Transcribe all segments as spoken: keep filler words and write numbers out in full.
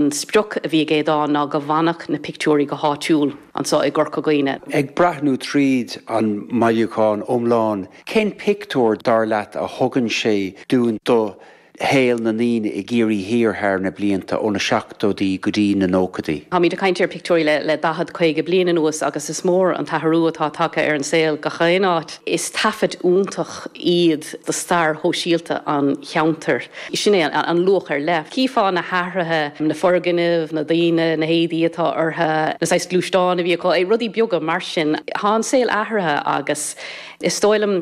An sprioc a bhí ag Aodán ná go bhfanfadh na pictiúirí go háitiúil anseo i gCorca Dhuibhne. Ag breathnú tríd an mbailiúchán iomlán, cén pictiúr dar leat a thugann sé dúinn do shaol na ndaoine i gCiarraí Thiar thar na blianta ó na seachtóidí go dtí na nóchaidí. Táimid ag caint ar pictiúirí le le daichead caoga bliain anuas agus is mór an t-athrú atá tagtha ar an saol gach aon áit. Is taifead iontach iad de stair shóisialta an cheantair. Sin é an luach ar leith. Chífeá na hathruithe, na foirgnimh, na daoine, na héadaí atá orthu, na saghas gluaisteáin a bhí acu, rudaí beaga mar sin. Tá an saol athraithe agus is dóigh liom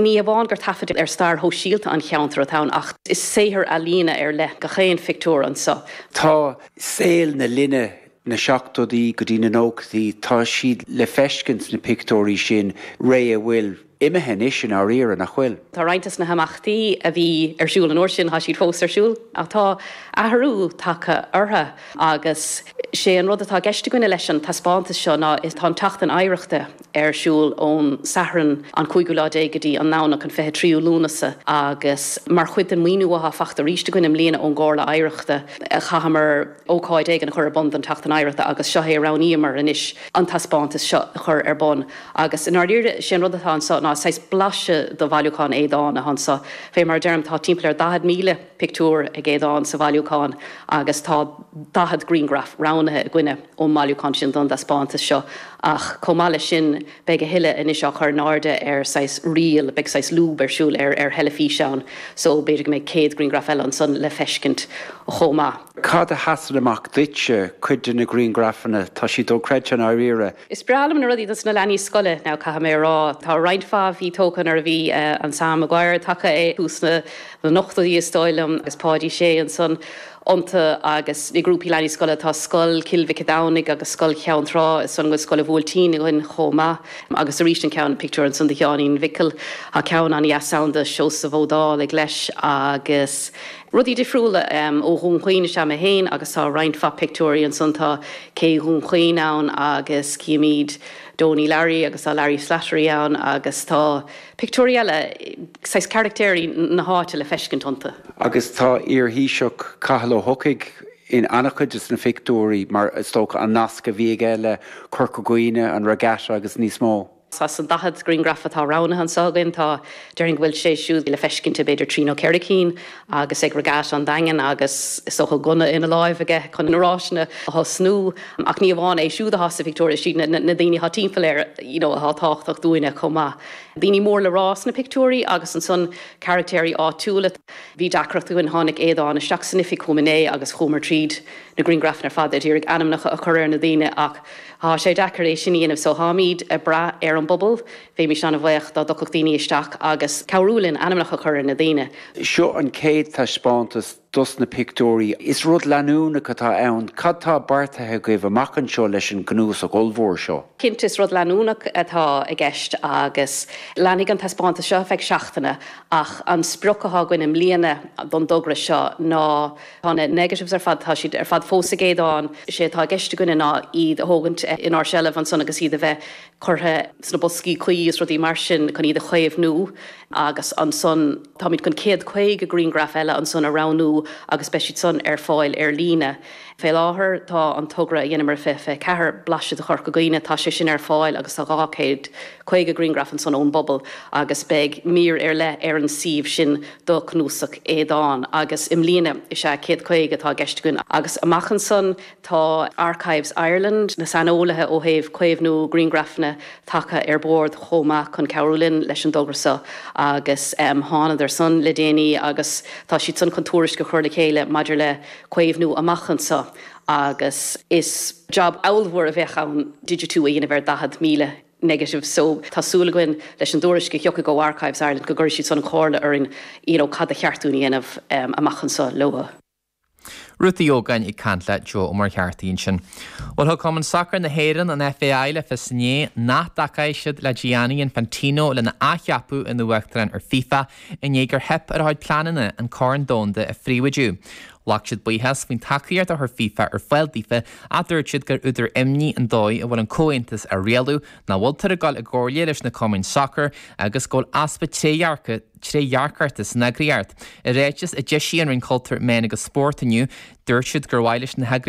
ní amháin gur taifead ar stair shóisialta an cheantair atá ann ach is saothar ealaíne ar leith gach aon phictiúr anseo. Tá saol na linne na seachtóidí go dtí na nóchaidí, tá siad le feiscint sna pictiúirí sin ré a bhfuil imithe anois i ndáiríre nach bhfuil. Tá roinnt de na himeachtaí a bhí ar siúl an uair sin tá siad fós ar siúl ach tá athrú tagtha orthu agus sé an rud atá i gceist againne leis an taispeántas seo ná is tá an tSeachtain Oidhreachta ar siúl ón Satharn an cúigiú lá déag go dtí an Domhnach an fiche tríú Lúnasa agus mar chuid den mhaoiniú atá faighte arís againn i mbliana ón gComhairle Oidhreachta chaitheamar ócáid éigin a chur ar bun don tSeachtain Oidhreachta agus seo é a roghnaíomar anois an taispeántas seo a chur ar bun agus i ndáiríre sé an rud atá anseo ná saghas blaiseadh de bhailiúchán Aodáin atá anseo. Fé mar a deirim tá timpeall ar daichead míle pictiúr ag Aodán sa bhailiúchán agus tá daichead grianghraf roghnaithe againne ón mbailiúchán sin don taispeántas seo ach chomh maith leis sin beidh a thuilleadh anois á chur in airde ar saghas reel, beidh saghas lúb ar siúl ar ar theilifís ann so b'fhéidir go mbeidh céad grianghraf eile ansan le feiscint chomh maith. Cad a sheasann amach duitse, cuid de na grianghrafanna, tá siad dochreidte i ndáiríre. Is breá liom na rudaí dos na leanaí scoile now caithfidh mé a rá. Tá roinnt mhaith a bhí tógtha nuair a bhí an Sam Maguire tagtha i dtús na n-ochtóidí is dóigh liom agus Páidí Sé ansan iontu agus na grúpaí leanaí scoile tá Scoil Chill Mhic Domhnaigh agus Scoil Cheann Trá is dóigh liom go bhfuil Scoil an Bhuailtín againn chomh maith agus arís an ceann pictiúr ansan de Sheáinín Mhicil tá ceann an-dheas ann de Seosamh Ó Dálaigh leis agus rudaí difriúla ó Dhún Chaoin is ea mé féin agus tá roinnt mhaith pictiúirí ansan tá Cé Dhún Chaoin ann agus címid Donie Larry agus tá Larry Slattery ann agus tá pictiúirí eile, saghas caractéirí na háite le feiscint iontu. Agus tá iar-Thaoiseach Cathal Ó hEochaidh in an-chuid de na pictiúirí mar is dócha an nasc a bhí aige le Corca Dhuibhne, an Regatta agus níos mó. As an daichead grianghraf atá roghnaithe anseo againn, tá, déarfainn go bhfuil sé siúd le feiscint i b'fhéidir trí nó ceithre cinn agus ag Regatta an Daingin agus is dócha gunna ina láimh aige chun na ráiseanna a thosnú. Ach ní amháin é siúd atá sa phictiúr, is iad na daoine atá timpeall air you know atá tábhachtach dúinne chomh maith. Daoine mór le rá sna pictiúirí agus ansan caractéirí áitiúla. Bhí deacracht againn, tháinig Aodán isteach san oifig chugam inné agus chuamar tríd na grianghrafanna ar fad ag iarraidh ainmneacha a chur ar na daoine ach Tá sé deacair é sin a dhéanamh so táimid ag brath ar an bpobal. Bheimis an-bhuíoch dá dtiocfadh daoine isteach agus cabhrú linn ainmneacha a chur ar na daoine. Seo an chéad taispeántas dos na pictiúirí. Is rud leanúnach atá ann. Cad tá beartaithe agaibh amach anseo leis an gcnuasach ollmhór seo? Cinnte is rud leanúnach atá i gceist agus leanfaidh an taispeántas seo ar feadh seachtaine ach an sprioc atá againn i mbliana don dtogra seo ná Tá na negatives ar fad, tá siad ar fad fós ag Aodán. Is é atá i gceist againne ná iad a thógaint inár seilbh ansan agus iad a bheith curtha sna boscaí cuí is rudaí mar sin chun iad a chaomhnú agus ansan táimid chun céad caoga grianghraf eile ansan a roghnú agus beidh siad san ar fáil ar líne. Fé láthair tá an togra a dheineamar i fiche fiche ceathair, Blaiseadh de Chorca Dhuibhne, tá sé sin ar fáil agus tá dhá chéad caoga grianghraf ansan ón bpobal agus beidh mír ar leith ar an suíomh sin do Chnuasach Aodáin agus i mbliana is ea céad caoga atá i gceist againn agus amach ansan tá Archives Ireland, na saineolaithe ó thaobh caomhnú grianghrafanna tagtha ar bord chomh maith chun cabhrú linn leis an dtogra seo agus thánadar san le déanaí agus tá siad san chun tuairisc a chur le chéile maidir le caomhnú amach anso agus is jab ollmhór a bheadh ann digitiú a dhéanamh ar daichead míle negative so tá súil againn leis an dtuairisc a thiocfaidh ó Archives Ireland go gcuirfidh siad san an chomhairle orainn you know cad a cheart dúinn a dhéanamh amach anso leo. Ruth Uí Ógáin ag caint le Joe Ó Muircheartaigh ansin. Bhuel thug Cumann Sacair na hÉireann, an FAI, le fios inné nach dtacóidh siad le Gianni Infantino lena athcheapadh ina uachtarán ar FIFA i ndiaidh gur theip ar a chuid pleananna an Corn Domhanda a phríobháidiú. Ghlac siad buíochas faoin tacaíocht a chuir FIFA ar fáil daofa ach dúirt siad gur údar imní an dóigh a bhfuil an comhaontas á rialú nach bhfuiltear ag dul i gcomhairle leis na cumainn sacair agus go bhfuil easpa trédhearca trédhearcachta san eagraíocht. I ráiteas a d'eisigh an Roinn Cultúir Meán agus Spóirt inniu, dúirt siad gur mhaith leis na